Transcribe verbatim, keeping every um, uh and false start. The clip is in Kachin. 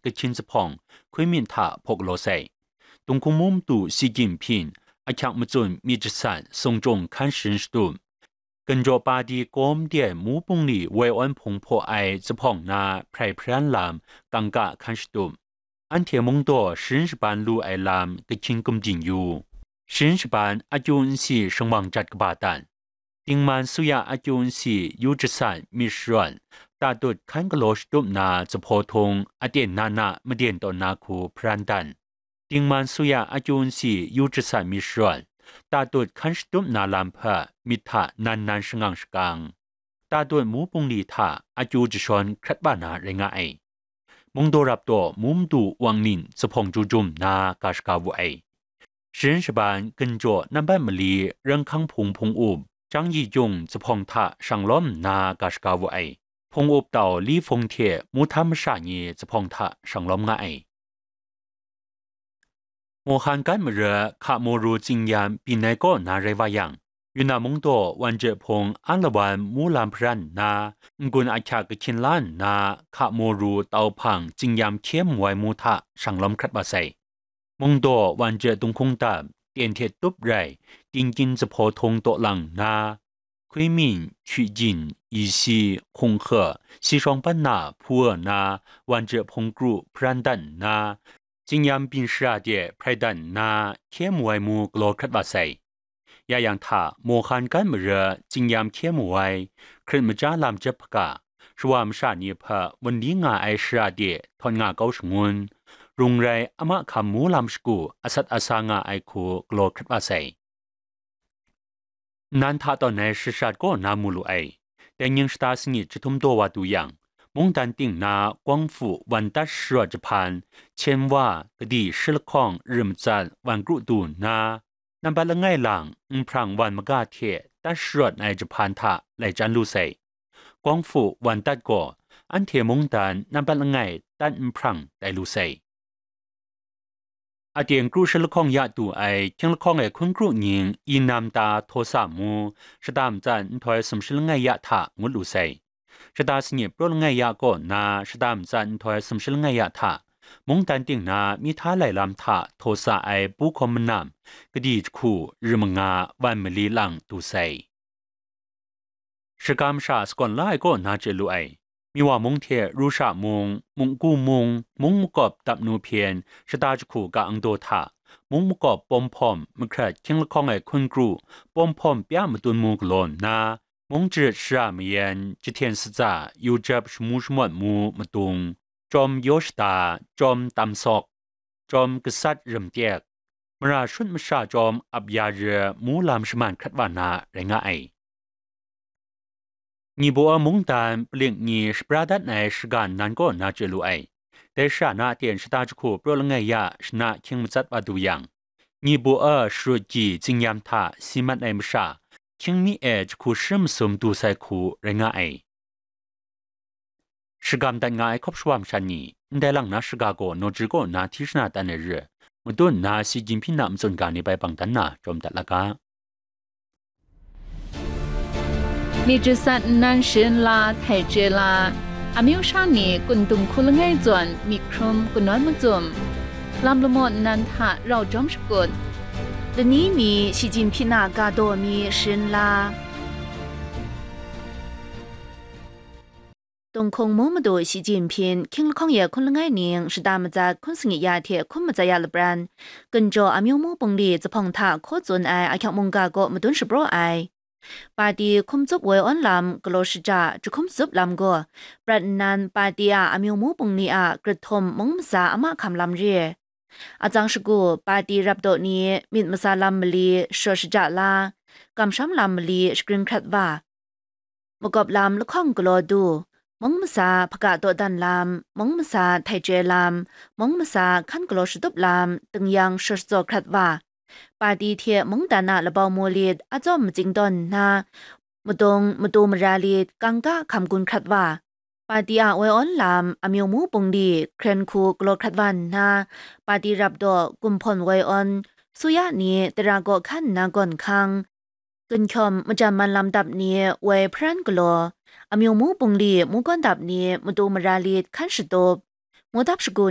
Kahkyin Zuphpawng, Hkui Min hta hpaw galaw sai. Dunghkung Mu Madu Shi Jinpying, Ahkyak Matsun Myit Jasat Sung Chyung Hkan Sharin Shatup, Ginjaw Padi Kawm de Mu Bungli woi awn hpung hpaw ai zuphpawng na hprai hparan lam kangka hkan shatup, anhte mungdaw sharin shaban lu ai lam kahkyin gumdin yu, sharin shaban akyu nsi shingwang jat kaba dat, Dingman Suya akyu nsi yu jasat myit sharawt, tatut hkan galaw shatup na zuphpawng htung aten na na maden tawn na hku hparan dan, Dingman Suya akyu nsi yu jasat myit sharawt, tatut hkan shatup na lam hpe myit hta nan nan shangang shakang, tatut Mu Bungli hta akyu jashawn hkrat wa na rai nga ai. Mungdaw Rapdaw Mu Madu Wang Nin zuphpawng jum jum nna ga shaga wu ai. Sharin shaban Ginjaw Nambat Mali Ranghkang Hpung Hpung Up, Jang Yi Jung zuphpawng hta shang lawm nna ga shaga wu ai. Hpung Up Tau Li Fung hte Mu Htam masha ni zuphpawng hta shang lawm nga ai. Mawhan Gat mara Hka Maw Ru Tsingyam byin ai kaw na rai wa yang, Yunnan mungdaw Wan Jahpung Alawan Mu lam hparan nna, n-gun ahkyak kahkyin la nna, Hka Maw Ru Tau Hpang Tsingyam hkye mu ai mu hta shang lawm hkrat wa sai. Mungdaw Wan Jah Dunghkung Dap, Tyen Htet Tup rai, Tingkyin Zuphpawng htung taw lang nna, Hkui Min, Hkyu Jin, Yi Si, Hkung Hka, Si Shawng Pan Na, Hpu Wa Na, Wan Jah Hpung Kru hparan dat nna, Tsingyam byin shara de hprai dat nna, hkye mu ai mu galaw hkrat wa sai. Ya yang hta, Mawhan Gat mara Tsingyam hkye mu ai, hkrit maja lam jep hpaga, shawa masha ni hpe wunli nga ai shara de htawn nga kau shangun, rung rai a mahkam mu lam shagu asat asa nga ai hku galaw hkrat wa sai. Nnan hta tawn ai shashat kaw na mu lu ai. Dai nying shata sanit jahtum daw wa du yang, mungdan ting na Guangfu Wandat sharawt jahpan, Chen Wa, Kadi Shi Lahkawng, Rim Matsat, Wan Kru du nna, nambat langai lang Nhprang Wan Maga hte dat sharawt ai jahpan hta lai chyan lu sai. Guangfu Wandat gaw anhte mungdan nambat langai dat nhprang tai lu sai. Aten kru shi lahkawng ya tu ai hkying lahkawng ai hkun kru nying Inam Ta Htaw Sa mu, shata matsat nhtoi sumshi langai ya hta ngut lu sai. Shata sanit praw langai ya kaw na shata matsat nhtoi sumshi langai ya hta, mungdan ting na mi hta lai lam hta htaw sa ai pu hkawm manam, kadi jahku rim manga wan mali lang du sai. Shagam sha sagawn la ai kaw na chye lu ai. Miwa mung hte Rusha mung, Mungku mung, mung makawp dap nu hpyen shata jahku ka angdaw hta, mung makawp pawm hpawm mahkrat hkying lahkawng ai hkun kru, pawm hpawm pya matun mu galaw nna, mung jarit shara mayan, jahten satsa, yujap shamu shamawt mu madung, chyawm yaw shata, chyawm tam sawk, chyawm gasat rim tek, mara shut masha chyawm ap ya re mu lam shaman hkrat wa na rai nga ai. Nyibaw a mungdan palik ni shapra dat ai shaga nnan kaw na chye lu ai. Dai shara na aten shata jahku praw langai ya shana hkying matsat wa du yang, Nyibaw a sharut gyi Tsingyam hta si mat ai masha, hkying mi e jahku sharim masum du sai hku rai nga ai. Shagam dat nga ai hkawp shawa masha ni, ndai lang na shaga gaw nawjri kaw na hti shana tan ai re, madun na Xi Jinping na matsun ga ni bai bang dan na jawm dat la ga. Myit jasat nnan sharin la, htai chye la, amyu sha ni kun dung hku langai zawn myit hkrum kanawn macum, lam lamaw nnan hta rau jawm shakut, lani mi Xi Jinping a ga daw mi sharin la. Dunghkung Mu Madu Xi Jinping, hkying lahkawng ye hkun langai ning shata matsat hkun sanit ya hte hkum matsat ya lapran, Ginjaw Amyu Mu Bungli Zuphpawng hta hkaw tsun ai ahkyak mungga kaw madun shapraw ai. Pati hkum tsup woi awn lam galaw shaja jahkum tsup lam gaw, prat nnan pati a Amyu Mu Bungli a grit htum mung masa a mahkam lam re. Atsang shagu pati rapdaw ni myit masa lam mali sharawt shaja la, kamsham lam mali shagrin hkrat wa, makawp lam lahkawng galaw du, mung masa hpaga dawdan lam, mung masa htai chye lam, mung masa hkan galaw shatup lam, tingyan sharawt shatsaw hkrat wa, pati hte mungdan a labau mu lit a tsawm matsing tawn nna, madung matu mara lit kangka hkam gun hkrat wa, pati a woi awn lam Amyu Mu Bungli hkren hku galaw hkrat wa nna, pati rapdaw gumhpawn woi awn, suya ni tara kaw hkan nna gawn hkang, ginhkyawm majan man lam dap ni woi hparan galaw, Amyu Mu Bungli mu gawn dap ni matu mara lit hkan shatup, mu dap shagu